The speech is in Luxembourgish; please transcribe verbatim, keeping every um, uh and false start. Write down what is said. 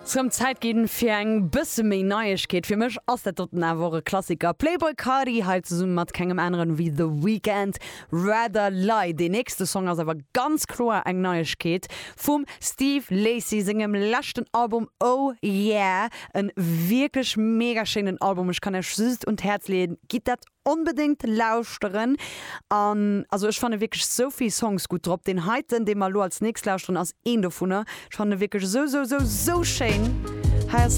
Zum Zäit ginn fir eng bësse méi Neiegkeet. Fir mech ass dat doten awer och e Klassiker. Playboi Carti hei zesumme mat kengem aneren wéi The Weeknd Rather Lie. Deen nächste Song ass awer ganz kloer eng Neiegkeet vum Steve Lacy sengem leschten Album Oh Yeah e wierklech mega schéinen Album ech kann iech just un d'Häerz leeën gitt dat onbedéngt lauschteren an also ech fanne wierklech sou vill Songs gutt drop deen heiten dee mer lo als nächst lauschteren ass een dovunner ech fanne wierklech sou sou sou sou schéin hei ass